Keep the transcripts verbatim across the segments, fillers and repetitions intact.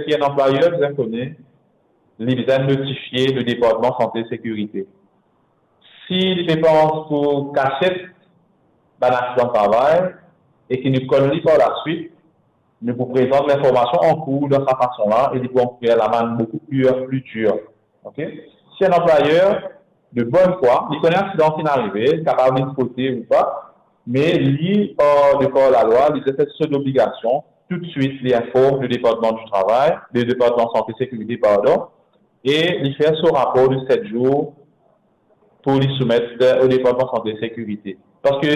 ki enn anplwayer bizin kone, li bizin notifie le Departman Sante Sekirite. Si li pe pans pou kasiet bann aksidan travay e ki nou konn li par laswit, nou pou prezant linformasion ankour dan sa fason la e li pou ankourir lamann boukou pli, pli dir. Ok? Si enn anplwayer de bonn fwa, li kone aksidan finn arive, li kapav vinn spote ou pa, me li, par, de par lalwa, li bizin fer so lobligasion, toutswit li inform le Departman di Travay, le Departman Sante Sekirite, pardon, e li fer so rapor de set zour pou li soumet o Departman Sante Sekirite. Parski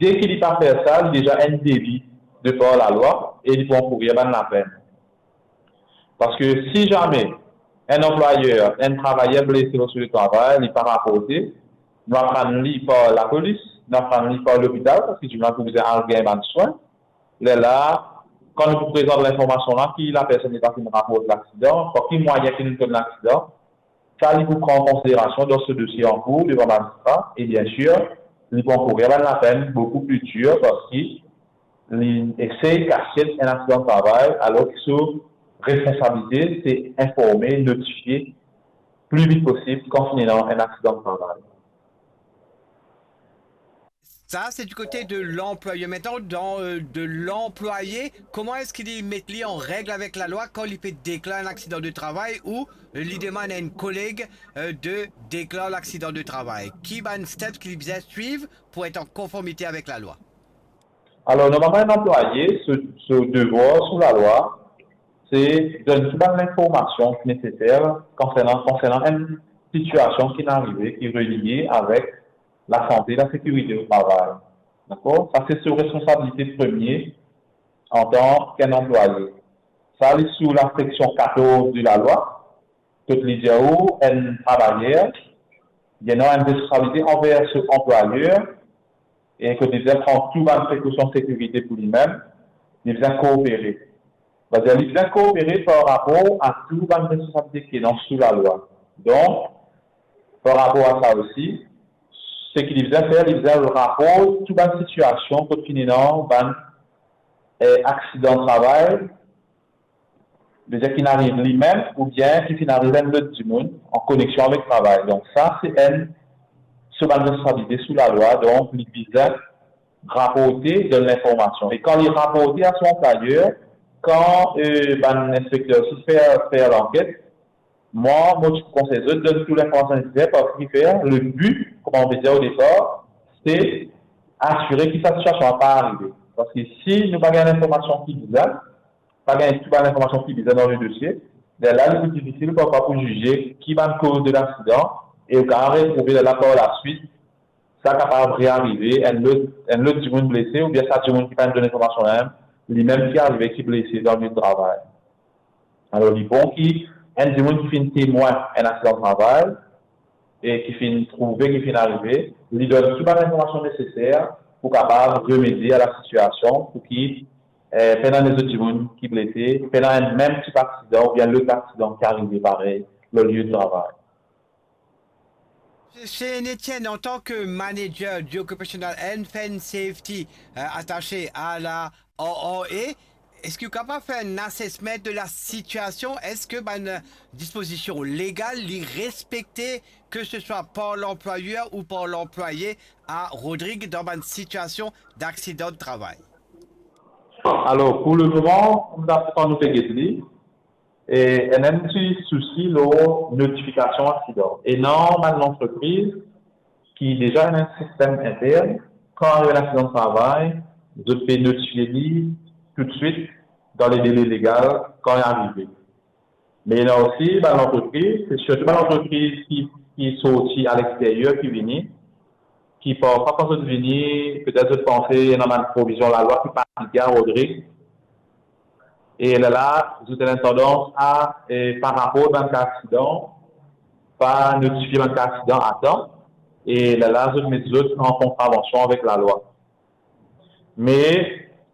deki li pa fer sa, li deza enn deli de par lalwa e li pou ankourir bann lapenn. Parski si zame enn anplwayer, enn travayer blese lor so letravay, li pa raporte, nou aprann li par lapolis, nou aprann li par lopital, parski dimoun la pou bizin al gagn bann swin. Lerla, kan nou pou prezant linformasion la ki lapersonn li pa finn raport laksidan, par ki mwayin ki nou konn laksidan, sa li pou pran an konsiderasion dan so dosie ankour devan mazistra, e biensir, li pou ankourir bann lapenn boukou pli dir parski li esey kasiet enn aksidan travay, alor ki so responsabilite se informe, notifie pli vit posib kan finn ena enn aksidan travay. Ça, c'est du côté de l'employeur. Maintenant, dans, euh, de l'employé, comment est-ce qu'il met lui en règle avec la loi quand il peut déclarer un accident de travail ou, euh, il demande à une collègue, euh, de déclarer l'accident de travail? Qui va une step qu'il doit suivre pour être en conformité avec la loi? Alor, normalman, enn anplwaye, so, so devwar sou lalwa, se donn tou bann linformasion ki neseser konsernan, konsernan enn sitiasion ki arive, ki relie avek lasante, lasekirite o travay. Dakor? Sa se so responsabilite premie antan ki enn anplwaye. Sa li sou laseksion katorz de lalwa, kot li dir ou enn travayer, li ena enn responsabilite anver so anplwayer, e kot li bizin pran tou bann prekosion sekirite pou limem, li bizin koopere. Savedir li bizin koopere par rapor a tou bann responsabilite ki ena sou lalwa. Donk, par rapor a sa osi, seki li bizin fer, li bizin raport tou bann sitiasion kot finn ena bann, eh, aksidan travay, bizin ki finn ariv limem oubien ki finn ariv enn lot dimoun an koneksion avek travay. Donk sa se enn so bann responsabilite sou lalwa, donk li bizin raporte, donn linformasion. E kan li raporte a so anplwayer, kan, eh, bann inspekter osi fer, fer lanket, mwa, mo ti pou konsey zot donn tou linformasion neseser, parski fer, le bi, kouma mo pe dir o depar, se asire ki sa sitiasion la pa arive. Parski si nou pa gagn linformasion ki bizin, pa gagn tou bann linformasion ki bizin dan le dosie, lerla li pli difisil parfwa pou zize ki bann koz de laksidan, e ou kapav retrouve lerla par laswit, sa kapav rearive, enn lot, enn lot dimoun blese, oubien sa dimoun ki pa donn linformasion la mem, limem ki arive, ki blese dan le travay. Alor, li bon ki enn dimoun ki finn temwin enn aksidan travay e ki finn trouve ki finn arive, li donn tou bann linformasion neseser pou kapav remedie a lasitiasion, pou ki, eh, pena enn lezot dimoun ki blese, pena enn mem tip aksidan oubien lot aksidan ki arive parey lor lie de travay. Monsieur Etienne, en tant que manager du Occupational Health and Safety, euh, attaché à la O R A, est-ce que vous êtes capable de faire un assessment de la situation? Est-ce que ben, disposition légale, li respecte, que ce soit par l'employeur ou par l'employé, à Rodrigue dans une situation d'accident de travail? Alor, pou lemoman, nou pa, kan nou pe get li, e ena enn ti sousi lor notifikasion aksidan. Ena bann lantrepriz ki deza ena enn sistem intern, kan arive enn aksidan travay, zot pe notifie li toutswit dan le dele legal kan li arive. Me ena osi bann lantrepriz, se sirtou bann lantrepriz ki, ki sorti alexteryer ki vini, ki parfwa kan zot vini, petet zot panse ena bann provizion lalwa ki pa aplike a Rodrigue. E lerla, zot ena tandans a, e, pa raport bann ka aksidan, pa notifie bann ka aksidan a tan, e lerla zot met zot an kontravansion avek lalwa. Me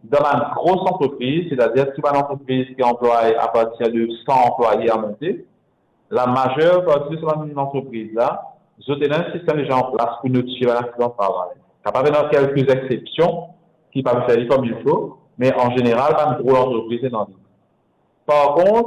dan bann gro lantrepriz, setadir tou bann lantrepriz ki anplway apartir de san anplwaye a monte, lamazer parti de sa bann lantrepriz la, zot ena enn sistem deza an plas pou notifie bann aksidan travay. Kapav ena kelke exsepsion ki pa fer li kouma il fo, me an zeneral, bann gro lantrepriz ena li. Par kont,